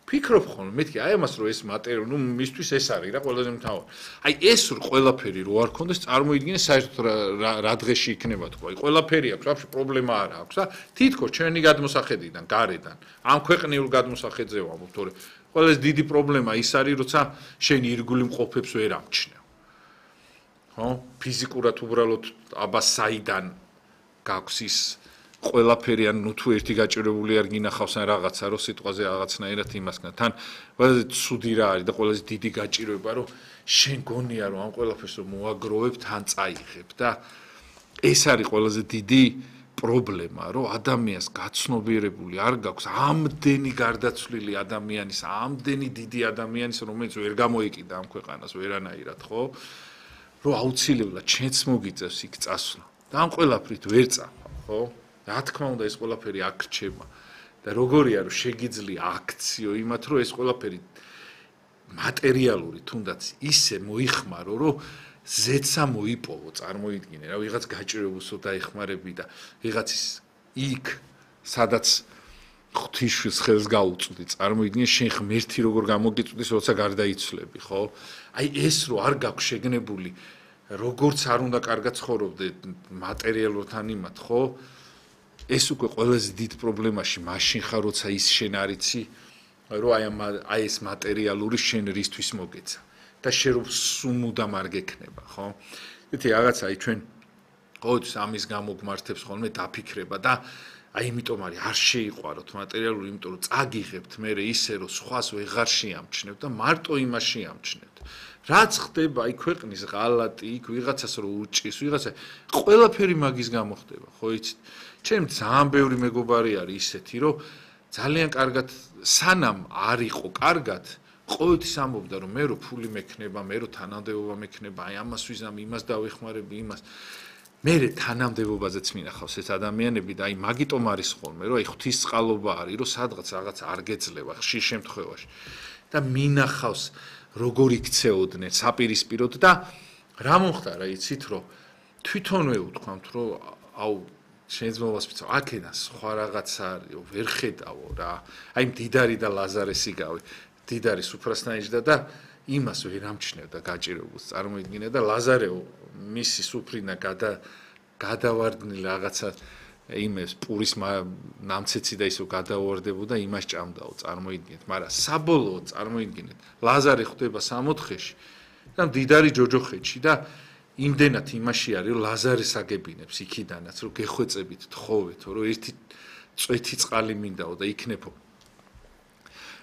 ფიქრობ ხოლმე მეთქი აი ამას რომ ეს მატერია ნუ მისთვის ეს არის რა ყველაზე მთავარი აი ეს ყველაფერი რო არ ქონდეს წარმოიდგინე საერთოდ რა დღეში იქნება თქო აი ყველაფერი აქვს ვაფშე პრობლემა არ აქვს და თითქოს ჩვენი გადმოსახედიდან გარედან ამ ქვეყნიურ გადმოსახედზე ვამბობ თორე ყველაზე დიდი პრობლემა ის არის როცა შენ ირგული მყოფებს ვერ ამჩნევ ხო ფიზიკურად უბრალოდ აბა საიდან გაქვს ის ყველაფერი ან ნუ თუ ერთი გაჭირებული არ გინახავს ან რაღაცა რო სიტყვაზე რაღაცნაირად იმასგან თან ყველაზე ცუდი რა არის და ყველაზე დიდი გაჭირვება რომ შენ გონია რომ ამ ყველაფერს რომ მოაგროვებ თან წაიღებ და ეს არის ყველაზე დიდი პრობლემა რომ ადამიანს გაცნობიერებული არ გაქვს ამდენი გარდაცვლილი ადამიანის ამდენი დიდი ადამიანის რომელიც ვერ გამოიკიდა ამ ქვეყანას ვერანაირად ხო რომ აუცილებლად ჩვენც მოგიწევს იქ წასვლა და ამ ყველაფრით ვერ წავა ხო რა თქმა უნდა ეს ყველაფერი აქ რჩება და როგორია რომ შეგიძლია აქციო იმათ რომ ეს ყველაფერი მატერიალური თუნდაც ისე მოიხმარო რომ ზეცა მოიპოვო წარმოიდგინე რა ვიღაც გაჭირებულსო დაეხმარები და ვიღაცის იქ სადაც ღვთისმშვილს ხელს გაუწვდი წარმოიდგინე შენ ღმერთი როგორ გამოგიწვდის როცა გარდაიცვლები ხო აი ეს რო არ გაქვს შეგნებული როგორც არ უნდა კარგად ცხოვრობდე მატერიალურად ანიმად ხო ეს უკვე ყველაზე დიდ პრობლემაში მაშინ ხარ როცა ის შენ არიცი რომ აი ეს მატერიალური შენ რისთვის მოგეცა და შენ რომ სუმუდამ არ გექნება ხო ეთი რაღაცა აი ჩვენ ყოველთვის ამის გამო გმართებს ხოლმე დაფიქრება და აი იმიტომ არის არ შეიყვაროთ მატერიალური იმიტომ რომ წაგიღებთ მე ისე რომ სხვას ვეღარ შეამჩნევთ და მარტო იმას შეამჩნევთ რაც ხდება აი ქვეყნის ღალატი იქ ვიღაცას რო უჭის ვიღაცა ყველაფერი მაგის გამო ხდება ხო იცით ჩემ ძალიან ბევრი მეგობარი არის ისეთი რომ ძალიან კარგად სანამ არ იყო კარგად ყოველთვის ამბობდა რომ მე რო ფული მექნება მე რო თანამდებობა მექნება აი ამას ვიზამ იმას დავეხმარები იმას მე თანამდებობაზეც მინახავს ეს ადამიანები და აი მაგიტომ არის ხოლმე რომ აი ღვთისწყალობა არის რომ სადღაც რაღაც არ გეძლევა ხშირ შემთხვევაში და მინახავს როგორ იქცეოდნენ საპირისპიროდ და რა მომხდარა იცით რომ თვითონვე უთქვამთ რომ აუ შეიძლება ვიცო აქედან სხვა რაღაცა არის ვერ ხედავო რა აი მდიდარი და ლაზარესი გავი მდიდარი სუფრასნაიჯდა და იმას ვერ ამჩნევდა გაჭირებულს წარმოიდგინე და ლაზარეო მისი სუფრინა გადავარდნილ რაღაცა იმეს პურის ნამცეცი და ისო გადავარდებოდა იმას ჭამდაო წარმოიდგინეთ მაგრამ საბოლოოდ წარმოიდგინეთ ლაზარე ხვდება 64-ში და მდიდარი ჯოჯოხეთში და იმდენად იმაში არის რომ ლაზარეს აგებინებს იქიდანაც რომ გეხვეწებით თხოვეთო რომ ერთი წვეთი წყალი მინდაო და იქნებო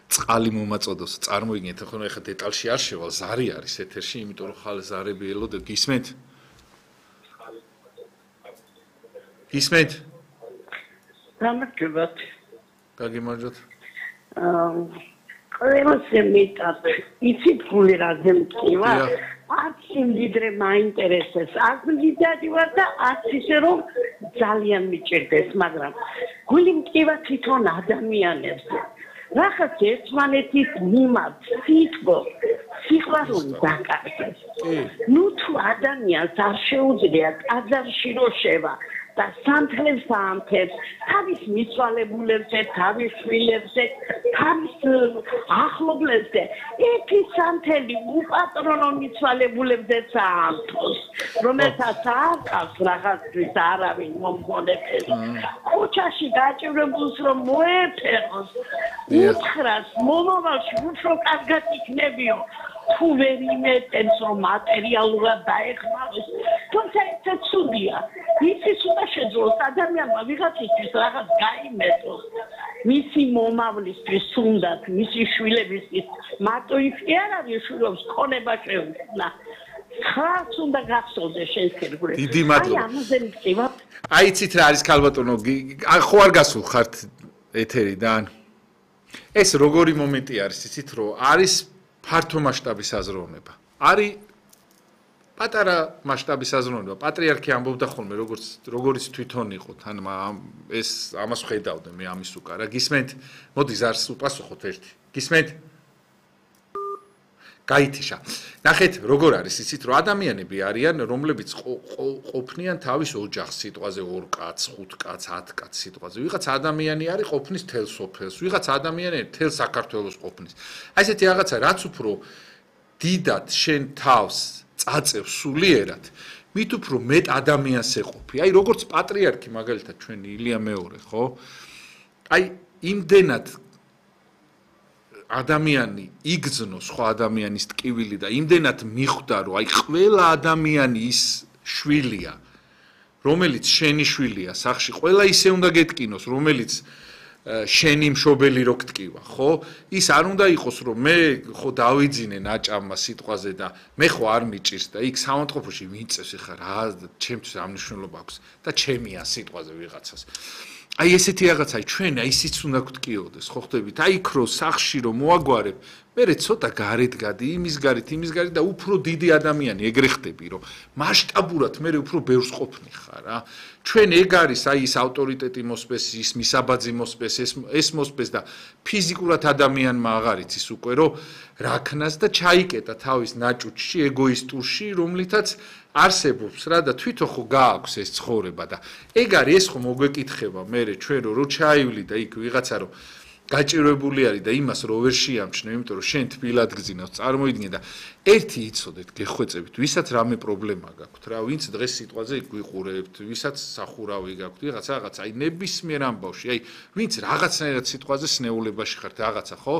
წყალი მომაწოდოს წარმოიდგინეთ ხო ეხლა დეტალში არ შევალ ზარი არის ეთერში იმიტომ რომ ხალ ზარები ელოდეთ გისმენთ გისმენთ გამარჯობათ გაგიმარჯოთ ყველაზე მეტად იცით ფული რაზე მტკივა არც იმდიდრე მაინტერესებს არც მდიდარი ვარ და არც ისე რომ ძალიან მიჭირდეს მაგრამ გული მტკივა თვითონ ადამიანებზე რახაც ერთმანეთის მიმართ სიყვარული დაკარგეს ნუ თუ ადამიანს არ შეუძლია ტაძარში რო შევა და სანთლებს აამთებს თავის მიცვალებულებზე, თავის შვილებზე, თავის ახლობლებზე ერთი სანთელი უპატრონო მიცვალებულებზეც აამთოს რომელსაც არ ყავს რაღაცის არავინ მომგონებს ქუჩაში გაჭირებულს რომ მოეფეროს უთხრას მომავალში უფრო კარგად იქნებიო თუ ვერ იმეტებს რომ მატერიალურად დაეხმაროს თუმცა ეს ცუდია იცის უნდა შეძლოს ადამიანმა ვიღაცისთვის რაღაც გაიმეტოს მისი მომავლისთვის უნდათ მისი შვილებისთვის მარტო ის კი არ არის შვილებს ქონება შეუძლინა ხარც უნდა გახსოვდეს შენ ქერგული დიდი მადლობა აი ამაზე მწივა აი იცით რა არის ქალბატონო ხო არ გასულ ხართ ეთერიდან ეს როგორი მომენტი არის იცით რომ არის ფართო მასშტაბის აზროვნება არის პატარა მასშტაბის აზროვნება პატრიარქი ამბობდა ხოლმე როგორც თვითონ იყო თან ეს ამას ხედავდა მე ამის უკარა გისმენთ მოდი ზარს უპასუხოთ ერთი გისმენთ გაითიშა. ნახეთ, როგორ არის, იცით, რომ ადამიანები არიან, რომლებიც ყოფნიან თავის ოჯახს, სიტყვაზე 2 კაც, 5 კაც, 10 კაც სიტყვაზე. ვიღაც ადამიანი არის ყოფნის თელ სოფელს, ვიღაც ადამიანი თელ საქართველოს ყოფნის. აი ესეთი რაღაცა, რაც უფრო დიდად შენ თავს წაწევ სულიერად, მით უფრო მეტ ადამიანს ეყოფი. აი როგორც პატრიარქი მაგალითად ჩვენი ილია მეორე, ხო? აი იმდენად ადამიანი იგზნო სხვა ადამიანის ტკივილი და იმდენად მიხვდა რომ აი ყველა ადამიანი ის შვილია რომელიც შენი შვილია სახში ყველა ისე უნდა გეტკინოს რომელიც შენი მშობელი რო გტკივა ხო ის არ უნდა იყოს რომ მე ხო დავიძინე ნაჭამმა სიტყვაზე და მე ხო არ მიჭირს და იქ სამონტყოფოში ვინწევს ეხა რა ჩემთვის ამ მნიშვნელობა აქვს და ჩემია სიტყვაზე ვიღაცას აი ესეთი რაღაცა ჩვენ აი ისიც უნდა გვტკიოდეს ხო ხდებით აი იქ რო სახში რო მოაგვარებ მე ცოტა გარეთ გადი იმის გარეთ და უფრო დიდი ადამიანი ეგრე ხდები რომ მასშტაბურად მე უფრო ბევრს ყოფნი ხარ რა ჩვენ ეგ არის აი ის ავტორიტეტი მოსპეს ის მისაბაძი მოსპეს ეს მოსპეს და ფიზიკურად ადამიანმა აღარ იცის უკვე რომ რაქნას და ჩაიკეტა თავის ნაჭუჭში ეგოისტურში რომლითაც არსებობს რა და თვითონ ხო გააქვს ეს ცხოვრება და ეგ არის ეს ხო მოგვეკითხება მე ჩვენ რო ჩაივლი და იქ ვიღაცა რომ გაჭირვებული არის და იმას რო ვერ შეამჩნევ, იმიტომ რომ შენ თბილად გძინავს, წარმოიდგინე და ერთი იცოდეთ, გეხვეწებით, ვისაც რამე პრობლემა გაქვთ რა, ვინც დღეს სიტყვაზე გვიყურებთ, ვისაც სახურავი გაქვთ, რაღაცა, აი ნებისმიერ ამბავში, აი ვინც რაღაცნაირად სიტყვაზე სნეულებაში ხართ, რაღაცა, ხო?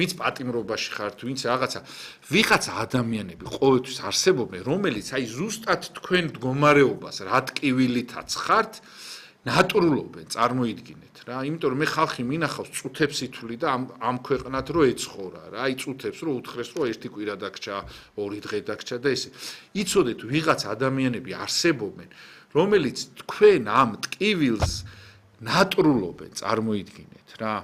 ვინც პატიმრობაში ხართ, ვინც რაღაცა, ვიღაცა ადამიანები ყოველთვის არსებობენ, რომელიც აი ზუსტად თქვენ მდგომარეობას რა ტკივილითაც ხართ, ნატურულობენ, წარმოიდგინეთ რა, იმიტომ რომ მე ხალხი მინახავს წუთებს ითვლი და ამ ქვეყნად რო ეცხოვრა რა, აი წუთებს რო უთხრეს რომ ერთი კვირა დაგჭა, 2 დღე დაგჭა და ესე. იცოდეთ, ვიღაც ადამიანები არსებობენ, რომელიც თქვენ ამ ტკივილს ნატურულობენ, წარმოიდგინეთ რა.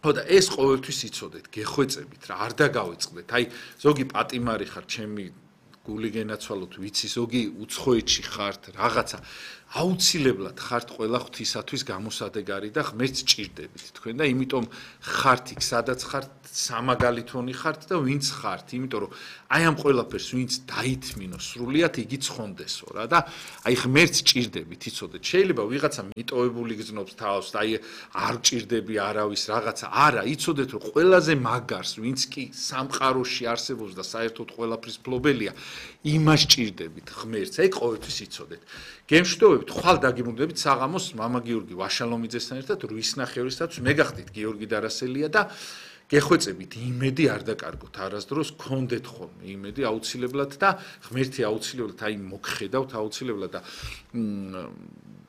ხო და ეს ყოველთვის იცოდეთ, გეხვეწებით რა, არ დაგავიწყდეთ. აი ზოგი პატიმარი ხარ, ჩემი გული გენაცვალოთ, ვიცი, ზოგი უცხოეთში ხართ, რაღაცა აუცილებლად ხართ ყველა ღვთისათვის გამოსადეგარი და ღმერთს ჭირდებით თქვენ და იმიტომ ხართ იქ სადაც ხართ სამაგალითონი ხართ და ვინც ხართ იმიტომ რომ აი ამ ყველაფერს ვინც დაითმინოს სრულიად იგი ცხონდესო რა და აი ღმერთს ჭირდებით იცოდეთ შეიძლება ვიღაცა მიტოვებული გზნობს თავს და აი არ ჭირდები არავის რაღაცა არა იცოდეთ რომ ყველაზე მაგარს ვინც კი სამყაროში არსებობს და საერთოდ ყველაფრის ფლობელია იმას ჭირდებით ღმერთს აი ყოველთვის იცოდეთ გემშვიდობებით ხვალ დაგიმუნდებით საღამოს მამა გიორგი ვაშალომიძესთან ერთად რუისნახევრისათვის მე გახდით გიორგი დარასელია და გეხვეწებით იმედი არ დაკარგოთ არასდროს გქონდეთ ხოლმე იმედი აუცილებლად და ღმერთი აუცილებლად აი მოგხედავთ აუცილებლად და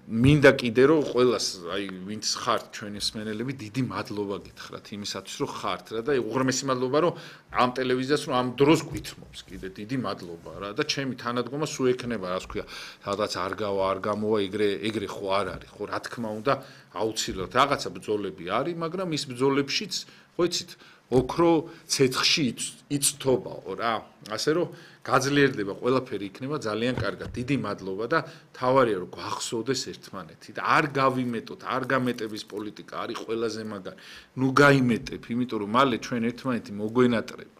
მინდა კიდე რომ ყველას აი ვინც ხართ ჩვენი მსმენელები დიდი მადლობა გითხრათ იმისათვის რომ ხართ რა და უღრმესი მადლობა რომ ამ ტელევიზიას რომ ამ დროს გვითმობს კიდე დიდი მადლობა რა და ჩემი თანადგომა სულ ექნება რა ვქვია სადაც არ გავა არ გამოვა ეგრე ხო არ არის ხო რა თქმა უნდა აუცილებლად რაღაცა ბრძოლები არის მაგრამ ის ბრძოლებშიც ხო იცით ოქრო ცეცხლში იწთობაო რა ასე რომ გაძლიერდება ყველაფერი იქნება ძალიან კარგად დიდი მადლობა და თავარია რომ გვახსოვდეს ერთმანეთი და არ გავიმეტოთ არ გამეტების პოლიტიკა არის ყველაზე მაგარი ნუ გაიმეტებ იმიტომ რომ მალე ჩვენ ერთმანეთი მოგვენატრება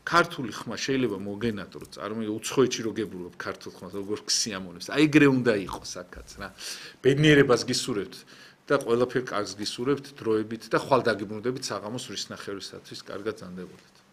ქართული ხმა შეიძლება მოგენატროთ წარმოიდგინე უცხოეთში რო გებულობ ქართულ ხმას როგორ გსიამოვნებს აი ეგრე უნდა იყოს აქაც რა ბედნიერებას გისურვებთ და ყველაფერ კარგს გისურვებთ დროებით და ხვალ დაგიბრუნდებით საღამოს რისნახევრისათვის კარგად ზანდებოდეთ